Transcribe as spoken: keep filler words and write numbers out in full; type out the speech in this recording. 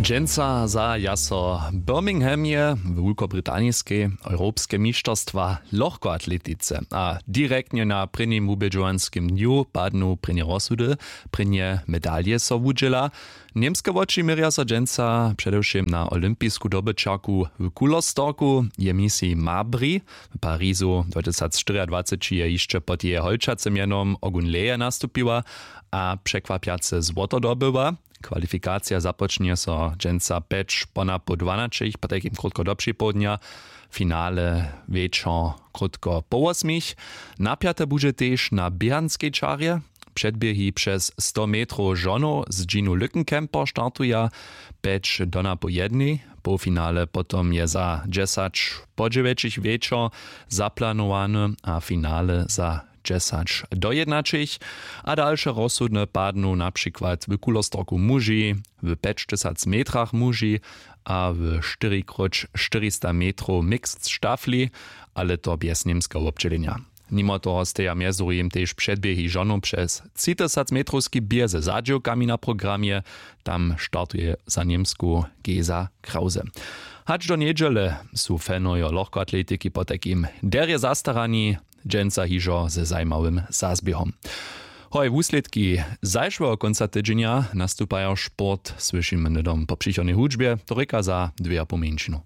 Dźensa zahaja so w Birminghamje w Wulkobritanijskej europske mišterstwa w lochkoatletice a direktnje na prěnim wubědźowanskim dnju padnu prěnje rozsudy. Prěnje medalje so wudźěla. Němske woči měrja so dźensa předewšěm na olympisku dobyćerku w Kulostorku, je misej Mabry. W Parizu dwatysacštyriadwaceći je hišće pod jeje holčacym mjenom Ogunleje nastupiła a překwapjace złoto dobyła. Kwalifikacija započnje so dźensa pjeć ponapoł dwanaćich, potajkim krótko do připołdnja, finale wječor krótko po wosmich. Napjate budźe tež na běhanskej čarje. Předběhi přez sto metrow žonow z džinu lückenkemper startuja pjeć do napoł jednej. Połfinale potom je za dźesać po dźewjećich wječor zaplanowany a finale za dźesać do jědnaćich. A dalše rozsudne padnu na přikład w kulostorku muži w pjećtysac metrach muži a w štyrikróć štyrista metrow mixed štafli, ale to bjez němskeho wobdźělenja. Nimo toho steja mjez druhim tež předběhi žonow přez třitysac metrowski běh ze zadźěłkami na programje. Tam startuje za němsku Gesa Krause. Hač do njedźele su fanojo lochkoatletiki potajkim derje zastarani, dźensa hižo ze zajimawym zazběhom. Hoj, wuslědki zašłeho kónca tydźenja nastupajo sport, słyšimy hnydom po přichodnej hudźbje, to rěka za dwě a pół mjeńšinu.